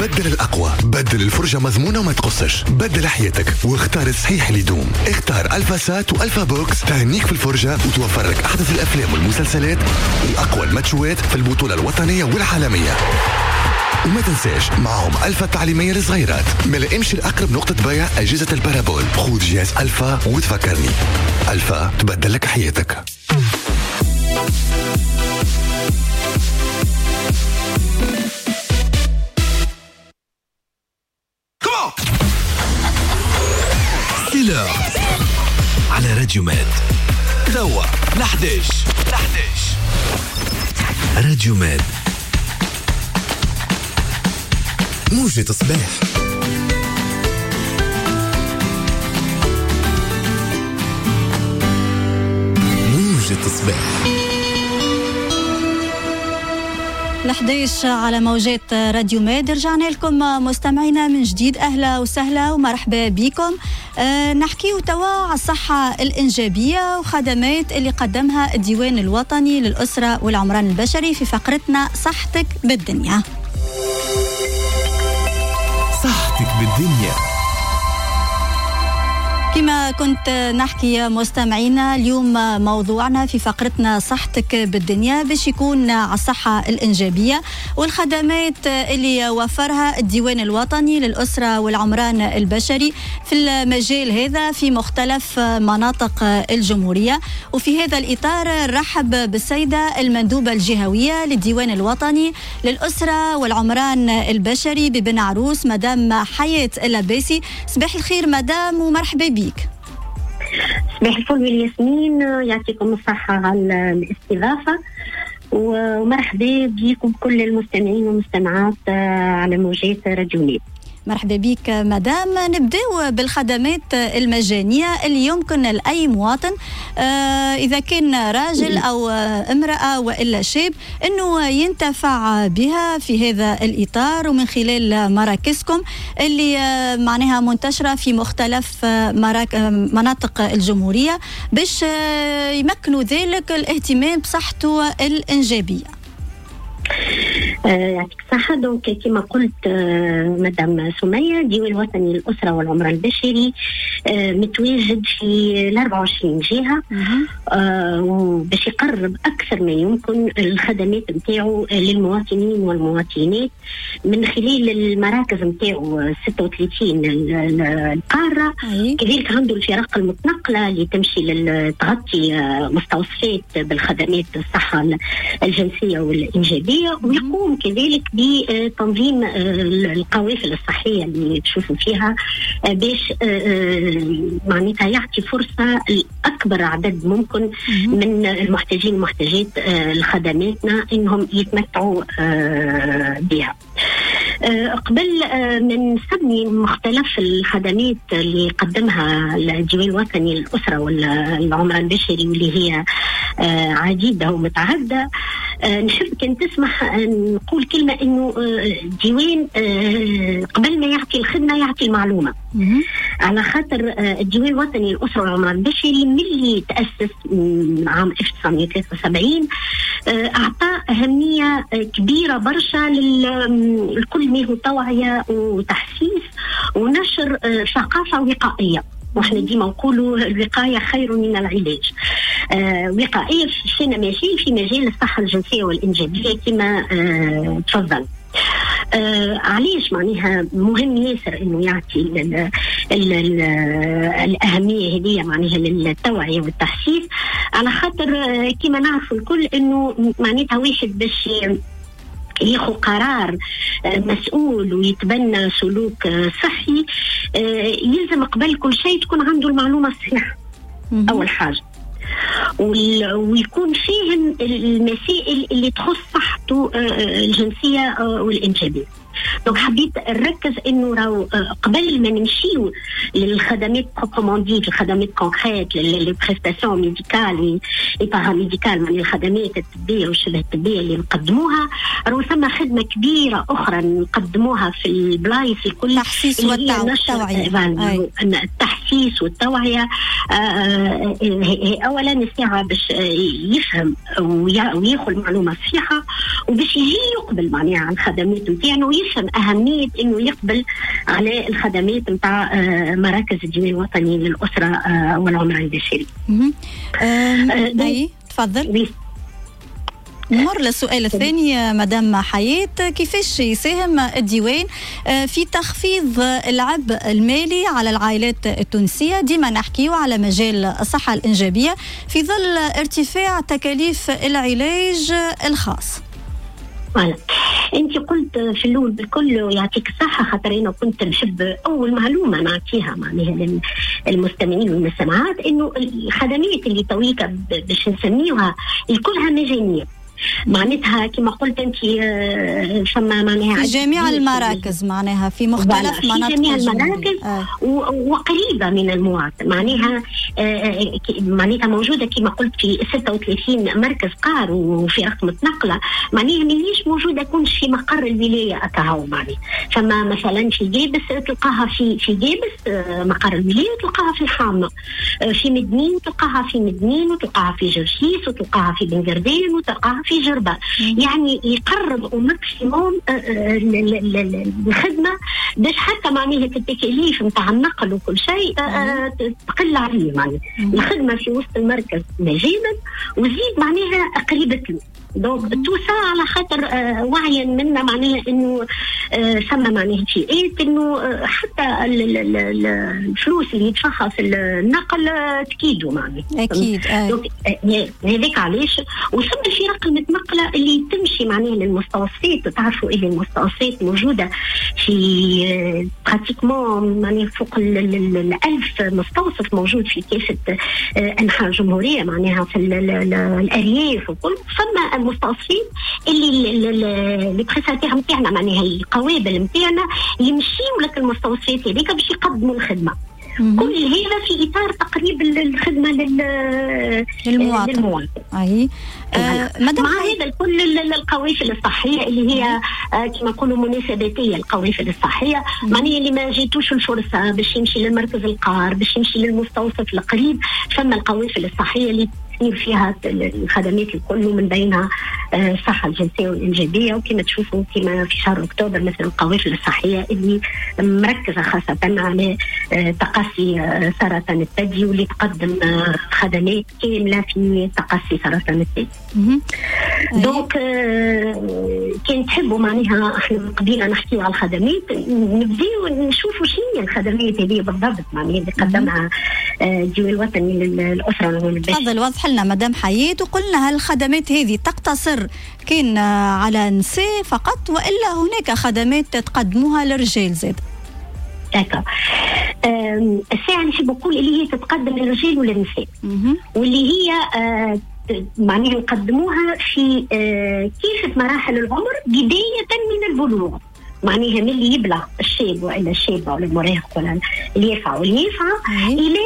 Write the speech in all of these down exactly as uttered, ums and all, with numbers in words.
بدل الأقوى، بدل الفرجة مضمونة وما تقصش، بدل حياتك واختار الصحيح اللي يدوم. اختار ألفا سات وألفا بوكس، تهنيك في الفرجة وتوفر لك أحدث الأفلام والمسلسلات وأقوى الماتشوات في البطولة الوطنية والعالمية. وما تنساش معهم ألفا التعليمية للصغيرات. ما امشي لأقرب نقطة بيع أجهزة ال parabole، خذ جهاز ألفا وتفكرني. ألفا تبدل لك حياتك. C'est l'heure على راديو ماد توا لحداش لحداش راديو ماد موجة صباح. موجة صباح الحداش على موجات راديو ماد. رجعنا لكم مستمعينا من جديد، أهلا وسهلا ومرحبا بكم. أه نحكيو توا على الصحة الإنجابية وخدمات اللي قدمها الديوان الوطني للأسرة والعمران البشري في فقرتنا صحتك بالدنيا. صحتك بالدنيا. كما كنت نحكي مستمعينا، اليوم موضوعنا في فقرتنا صحتك بالدنيا باش يكون على الصحة الإنجابية والخدمات اللي وفرها الديوان الوطني للأسرة والعمران البشري في المجال هذا في مختلف مناطق الجمهورية. وفي هذا الإطار نرحب بالسيدة المندوبة الجهوية للديوان الوطني للأسرة والعمران البشري ببن عروس، مدام حياة اللباسي. صباح الخير مدام ومرحبا بك. صباح الفل والياسمين، يعطيكم الصحة على الاستضافة ومرحبا بكم كل المستمعين والمستمعات على موجات راديو ماد. مرحبا بك مدام. نبداو بالخدمات المجانية اللي يمكن لأي مواطن إذا كان راجل أو امرأة وإلا شاب أنه ينتفع بها في هذا الإطار ومن خلال مراكزكم اللي معناها منتشرة في مختلف مناطق الجمهورية باش يمكنوا ذلك الاهتمام بصحته الإنجابية. يعطيك الصحة. donc كما قلت مدام سمية، الديوان الوطني للأسرة والعمران البشري متواجد في ال أربعة وعشرين جهة وباش يقرب أكثر ما يمكن الخدمات نتاعو للمواطنين والمواطنات من خلال المراكز نتاعو ستة وثلاثين القارة. كذلك عنده الفرق المتنقلة اللي تمشي تغطي مستوصفات بالخدمات الصحة الجنسية والإنجابية، ويقوم كذلك بتنظيم القوافل الصحية اللي تشوفوا فيها باش معناتها يعطي فرصة لأكبر عدد ممكن من المحتاجين والمحتاجات لخدماتنا إنهم يتمتعوا بها. قبل من نسمي مختلف الخدمات اللي قدمها الديوان الوطني للأسرة والعمران البشري واللي هي عديدة ومتعددة، نحب كان تسمح نقول كلمة إنه الديوان قبل ما يعطي الخدمة يعطي المعلومة. على خاطر الديوان الوطني للأسرة والعمران البشري ملي تأسس عام ألف وتسعمائة وثلاثة وسبعين أعطى أهمية كبيرة برشا لكل ما هو توعية وتحسيس ونشر ثقافة وقائية. واحنا ديما نقولوا الوقاية خير من العلاج. آه وقائيه في ماشي في مجال الصحة الجنسية والانجابيه كما آه تفضل. آه علاش معناها مهم ياسر انه يعطي ال ال ال الاهمية هذه معناها للتوعية والتحسيس، على خاطر آه كما نعرفوا الكل انه معناتها واحد باش ياخذ قرار مسؤول ويتبنى سلوك صحي يلزم قبل كل شيء تكون عنده المعلومة الصحيحة أول حاجة، ويكون فاهم المسائل اللي تخص صحته الجنسية والإنجابية. donc حبيت نركز انه راهو قبل ما نمشيو للخدمات proprement dites، الخدمات concrètes، les prestations médicales et paramédicales، من الخدمات الطبية والشبه الطبية اللي نقدموها، راهو ثم خدمة كبيرة اخرى نقدموها في البلايص الكل، التحسيس والتوعية. التحسيس والتوعية اولا الساعة باش يفهم وياخذ المعلومة الصحيحة، وباش يجي يقبل معناها على الخدمات نتاعنا ويفهم اهمية انه يقبل على الخدمات نتاع مراكز الديوان الوطني للاسرة والعمران البشري. اي تفضل. نمر للسؤال الثاني مدام حياة، كيفاش يساهم الديوان في تخفيض العبء المالي على العائلات التونسية؟ ديما نحكيو على مجال الصحة الإنجابية في ظل ارتفاع تكاليف العلاج الخاص. voilà، انت قلت في الاول بالكل ويعطيك الصحة، خاطر انا كنت نحب اول معلومة نعطيها معناها للمستمعين والمستمعات انه الخدمات اللي تويكا باش نسميوها الكلها مجانية، معناتها كما قلت انت فما معناها في جميع المراكز، معناها في مختلف مناطق، في جميع المراكز آه. وقريبه من المواطن، معناها آه معناتها موجودة كما قلت في ستة وثلاثين مركز قار وفي متنقله، معناها ماهيش موجودة كونش في مقر الولاية اكاهو، معناها فما مثلا في جابس تلقاها في في جابس مقر الولاية، وتلقاها في الحامه، في مدنين تلقاها في مدنين، وتلقاها في جرشيس، وتلقاها في بنقردين، وتلقاها في جربة. يعني يقرب au maximum الخدمة باش حتى معناها التكاليف نتاع النقل وكل شيء تقل عليه، معناها الخدمة في وسط المركز مجانا وزيد معناها قريبة له. donc tout ça على خاطر وعيا منا معناها انه ثم معناها فئات انه حتى الفلوس اللي يدفعها في النقل تكيدوا معناها. اكيد. donc هذاك علاش. وثم الفرق المتنقله اللي تمشي معناها للمستوصفات، تعرفوا اللي المستوصفات موجودة في pratiquement معناها فوق الألف مستوصف موجود في كافة انحاء الجمهورية، معناها في الارياف وكل. ثم المستوصفين اللي les prestataires نتاعنا معناها القوابل نتاعنا يمشيو لك المستوصفات هذيك باش يقدموا الخدمة. كل هذا في اطار تقريب الخدمة لل للمواطن. للمواطن. اي آه مع هذا الكل القوافل الصحية اللي هي آه كما نقولوا مناسباتيه، القوافل الصحية معناها اللي ما جاتوش الفرصة باش يمشي للمركز القار، باش يمشي للمستوصف القريب، ثم القوافل الصحية اللي تصير فيها الخدمات الكل ومن بينها الصحة الجنسية والإنجابية. وكما تشوفوا كما في شهر أكتوبر مثلا القوافل الصحية اللي مركزة خاصة على تقصي سرطان الثدي واللي تقدم خدمات كاملة في تقصي سرطان الثدي. donc كان تحبوا معناها احنا قبيلة نحكيو على الخدمات، نبداو نشوفوا شنو هي الخدمات هذه بالضبط معناها اللي قدمها الديوان الوطني للأسرة. تفضل وضح لنا مدام حياة، وقلنا هل الخدمات هذه تقتصر كان على نساء فقط وإلا هناك خدمات تقدموها للرجال زاد؟ d'accord. الساعة نحب نقول اللي هي تتقدم للرجال وللنساء، واللي هي معناها نقدموها في كافة مراحل العمر بداية من البلوغ، معناها من اللي يبلغ الشاب ولا الشابة ولا المراهق ولا اليافع واليافعة إلى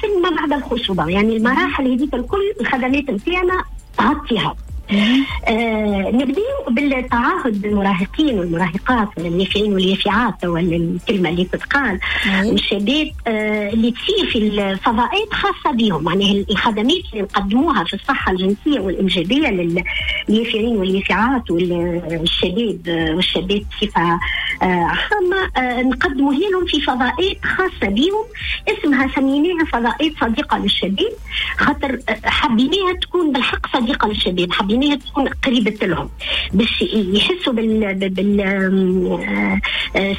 سن ما بعد الخصوبة، يعني المراحل هذيك الكل الخدمات نتاعنا تغطيها. آه نبداو بالتعاهد بالمراهقين والمراهقات واليافعين واليافعات، ولا الكلمة اللي تتقال والشباب آه اللي تصير في الفضاءات خاصة بهم، معناها الخدمات اللي نقدموها في الصحة الجنسية والانجابيه لليافعين واليافعات والشباب والشابات بصفة آه عامة، آه نقدموها لهم في فضاءات خاصة بهم اسمها سميناها فضاءات صديقه للشباب، خاطر حبيناها تكون بالحق صديقه للشباب، حبيناها تكون قريبة لهم باش يحسوا بال بال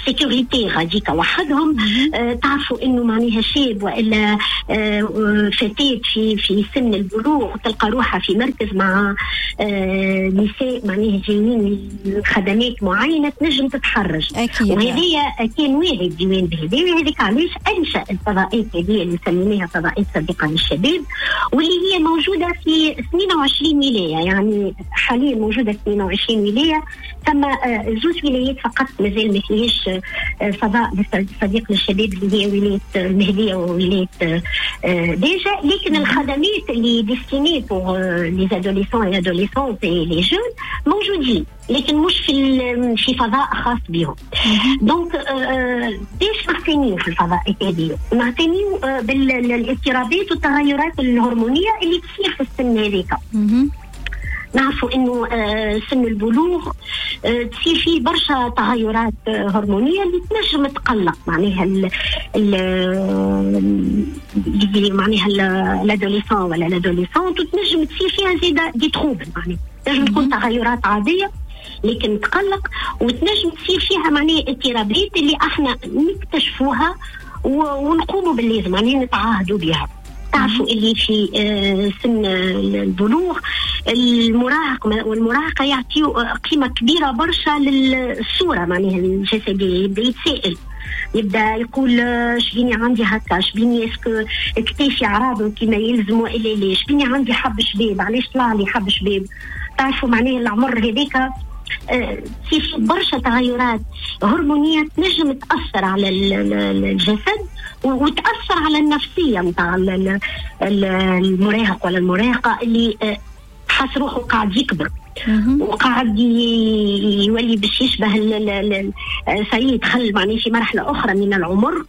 sécurité غاديك وحدهم. تعرفوا انه معناها شاب والا فتاة في في سن البلوغ تلقى روحها في مركز مع نساء معناها جايين خدمات معينة تنجم تتحرج. وهذه كان واعي الديوان بهذا، وهذيك علاش انشا الفضاءات هذه اللي سميناها فضاءات صديقه للشباب، واللي هي موجودة في اثنين وعشرين ولاية، يعني حاليا موجودة اثنين وعشرين ولاية، ثم زوج ولايات فقط مازال ما فيهاش فضاء صديق للشباب اللي هي ولاية المهدية وولاية ديجا، لكن الخدمات اللي destinées pour les adolescents et adolescentes et les jeunes موجودين، لكن مش في في فضاء خاص بهم. donc باش نعتنيو في الفضاءات هذه، نعتنيو بالاضطرابات والتغيرات الهرمونيه اللي تصير في السن هذيك. نعرفوا انه سن البلوغ تصير فيه برشا تغيرات هرمونيه اللي تنجم تقلق معناها ال ال معناها l'adolescent ولا l'adolescente، وتنجم تصير فيها زيادة des troubles، معناها تنجم تكون تغيرات عادية لكن تقلق، وتنجم تصير فيها معناها اضطرابات اللي احنا نكتشفوها ونقوموا باللازم معناها نتعاهدوا بها. تعرفوا اللي في سن البلوغ المراهق والمراهقة يعطيو قيمة كبيرة برشا للصورة معناها الجسدية، يبدأ يتسائل، يبدا يقول شبيني عندي هكا، شبيني est-ce que كتافي عراض كيما يلزم والا لا، شبيني عندي حب شباب، علاش طلع لي حب شباب. تعرفوا معناها العمر هذاك في برشا تغيرات هرمونية تنجم تأثر على الجسد وتأثر على النفسية نتاع المراهق ولا المراهقة اللي حاس روحه قاعد يكبر وقاعد يولي باش يشبه سيدخل معناه في مرحلة أخرى من العمر،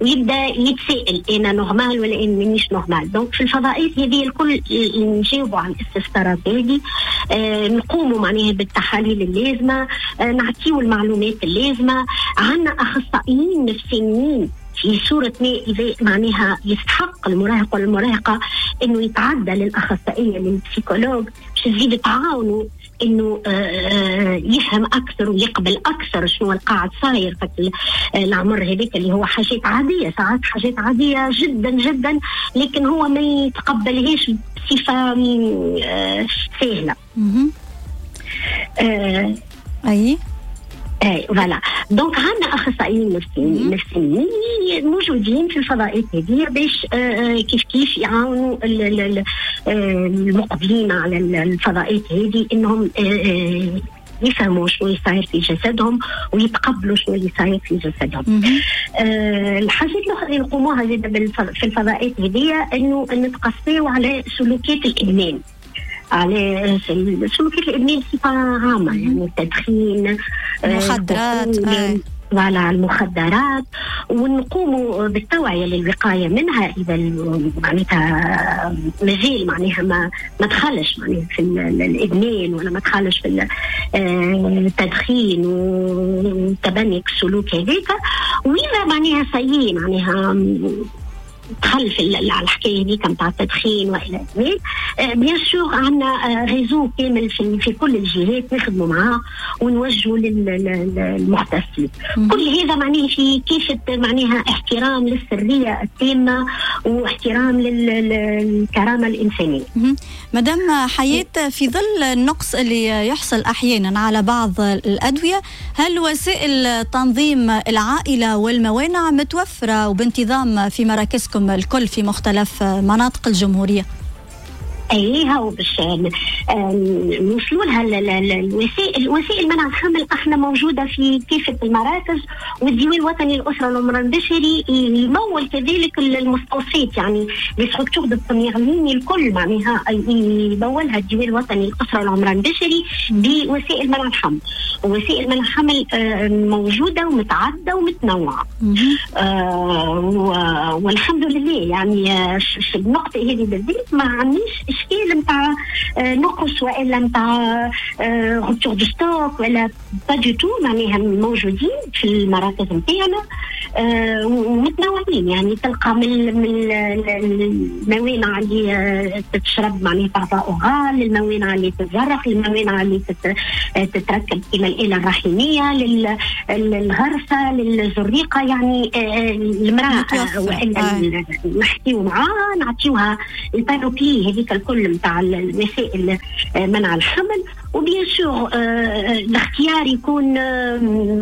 ويبدأ يتسائل أنا normal ولا أنا مانيش normal. donc في الفضائيات هذه الكل نجاوبوا على الاستفسارات هذه، آه نقوموا معناها بالتحاليل اللازمة، آه نعطيو المعلومات اللازمة. عندنا أخصائيين نفسيين في صورة ما إذا معناها يستحق المراهق والمراهقة إنه يتعدى للأخصائية لل psychologue باش تزيد تعاونه إنه يفهم أكثر ويقبل أكثر شنو القاعد صاير في العمر هذيك اللي هو حاجات عادية، ساعات حاجات عادية جدا جدا، لكن هو ما يتقبلهاش بصفة سهلة. أي اي voilà. donc عندنا اخصائيين نفسيين نفسيين موجودين في الفضاءات هذه باش كيف كيف يعاونوا المقبلين على الفضاءات هذه انهم يفهموا شنو يصير في جسدهم ويتقبلوا شنو اللي صاير في جسدهم. آه الحاجات الاخرى اللي نقوموها زاد في الفضاءات هذه انه نتقصيو على سلوكات الادمان، على سلوكات الادمان بصفة عامة، يعني التدخين، المخدرات، voilà المخدرات، ونقوموا بالتوعية للوقايه منها اذا معناتها مازال معناها ما ما دخلش معناها في الادمان ولا ما دخلش في التدخين وتبني السلوك هذاك، واذا معناها سيء معناها دخل في الحكاية هذيك نتاع التدخين والى اخره. bien sûr عندنا réseau كامل في, في كل الجهات نخدموا معاه ونوجهوا للمختصين. كل هذا معناه في كيفه معناها احترام للسريه التامة واحترام للكرامه الانسانية. مدام حياة، في ظل النقص اللي يحصل احيانا على بعض الادوية، هل وسائل تنظيم العائلة والموانع متوفرة وبانتظام في مراكزكم الكل في مختلف مناطق الجمهورية؟ اي هاو باش نوصلوا لها الوسائل، وسائل منع الحمل احنا موجودة في كافة المراكز، والديوان الوطني للاسرة والعمران البشري يمول كذلك المستوصفات، يعني les structures de première ligne الكل معناها يمولها الديوان الوطني للاسرة والعمران البشري بوسائل منع الحمل. وسائل منع الحمل موجودة ومتعددة ومتنوعة، آه والحمد لله. يعني في النقطة هذه بالذات ما عندناش اشكال نتاع نقص والا نتاع rupture de stock ولا pas du tout، معناها موجودين في المراكز نتاعنا ومتنوعين. يعني تلقى من الموانع اللي تتشرب معناها par voie orale، الموانع اللي تتزرق، الموانع اللي تتركب كما الآلة الرحمية، للغرسة، للزريقة. يعني المرأة والا نحكيو معاها نعطيوها ال panoplie هذيك الكل نتاع الوسائل منع الحمل، و bien sûr الاختيار يكون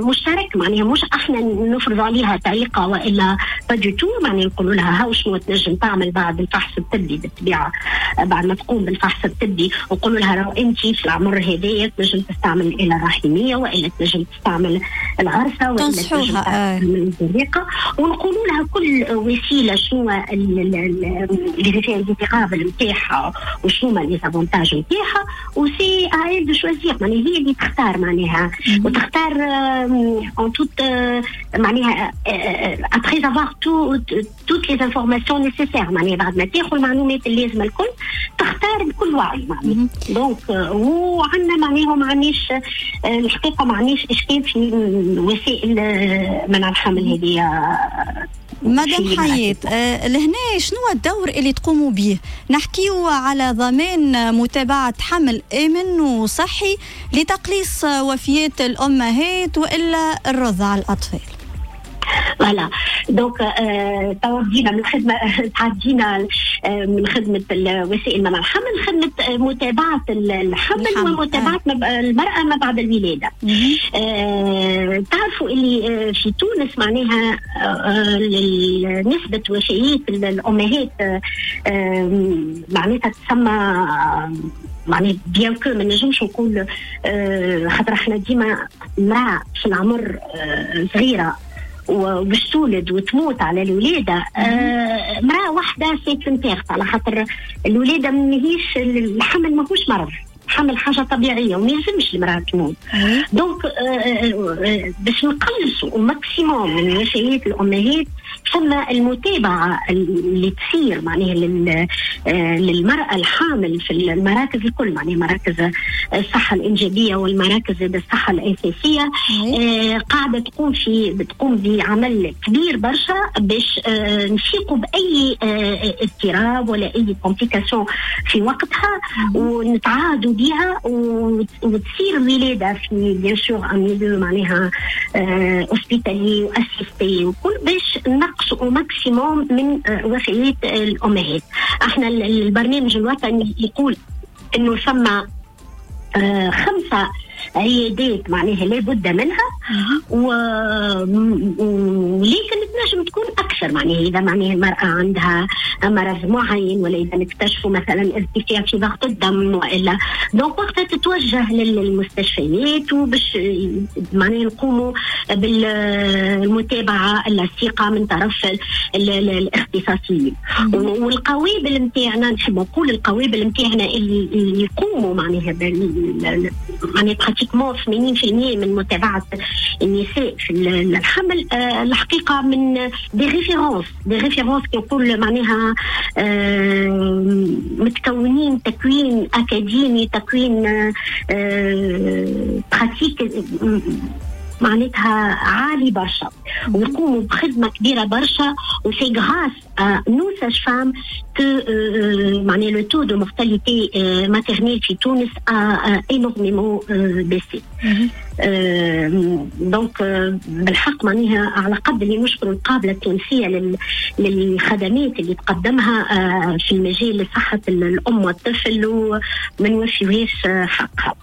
مشترك، معناها مش احنا نفرض عليها طريقه والا pas du tout، معناها نقولوا لها هاو شنو تنجم تعمل بعد الفحص الطبي، بالطبيعة بعد ما تقوم بالفحص الطبي نقولوا لها راهو انت في العمر هذايا تنجم تستعمل الاله الرحميه والا تنجم تستعمل الغرسه والا تنجم تستعمل الزريقه، ونقولوا لها كل وسيلة شنو les effets indésirables نتاعها وشنو les avantages نتاعها، و c'est à elle de choisir، معناها هي اللي تختار معناها وتختار en toute معناها après avoir tout toutes les informations nécessaires، معناها بعد ما تاخذ المعلومات اللازمة الكل تختار بكل وعي معناها. donc وعندنا معناها ما عندناش الحقيقة ما عندناش اشكال في وسائل منع الحمل هذه. مدام حياة، آه لهنا شنو الدور اللي تقوموا به؟ نحكيو على ضمان متابعة حمل آمن وصحي لتقليص وفيات الأمهات وإلا الرضع الأطفال. voilà donc توا بدينا من خدمة، تعدينا من خدمة وسائل منع الحمل خدمة متابعه الحمل ومتابعة المراة ما بعد الولادة. تعرفوا اللي في تونس معناها نسبه وفيات الامهات معناتها تسمى معناها bien que ما نجمش نقول، خاطر احنا ديما امراة في العمر صغيرة وباش تولد وتموت على الولادة، آه امراة واحدة c'est une perte، على خاطر الولادة ماهيش، الحمل ماهوش مرض، حمل حاجة طبيعية وما يلزمش المراة تموت. donc آه باش نقلصوا maximum من وفيات الامهات ثم المتابعة اللي تصير معناها للمراة الحامل في المراكز الكل، معناها مراكز الصحة الانجابيه والمراكز الصحة الاساسية، آه قاعدة تقوم في بتقوم بعمل كبير برشا باش آه نفيقوا باي آه اضطراب ولا اي complication في وقتها ونتعاهدوا بها وتصير الولادة في bien sûr un milieu معناها hospitalier و assisté وكل باش نقصوا maximum من وفيات الامهات. احنا البرنامج الوطني يقول انه ثم خمسة عيادات معناها لابد منها، و... ولكن تنجم تكون اكثر معناها اذا معناها المراة عندها مرض معين ولا اذا نكتشفوا مثلا ارتفاع في ضغط الدم والا donc وقتها تتوجه للمستشفيات وباش معناها نقوموا بالمتابعة اللصيقه من طرف الاختصاصيين. والقوابل نتاعنا نحب نقول القوابل نتاعنا اللي يقوموا معناها بال... معناها pratiquement ثمانين بالمية من متابعه النساء في الحمل الحقيقة من des références des références كي نقول معناها متكونين تكوين اكاديمي، تكوين pratique معناتها عالي برشا، ويقوموا بخدمة كبيرة برشا. و c'est grâce à nos sages-femmes que معناها le taux de mortalité maternelle في تونس a énormément baissé. donc بالحق معناها على قد اللي نشكر القابلة التونسية للخدمات اللي تقدمها في المجال لصحة الام والطفل وما نوفيوهاش حقها.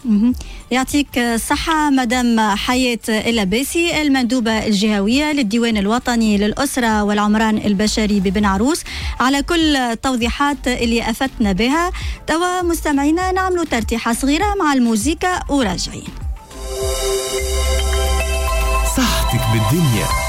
يعطيك الصحة مدام حياة اللباسي، المندوبه الجهوية للديوان الوطني للاسرة والعمران البشري ببن عروس، على كل التوضيحات اللي افدتنا بها. توا مستمعينا نعملوا ترتيحه صغيرة مع الموزيكا وراجعين. صحتك بالدنيا.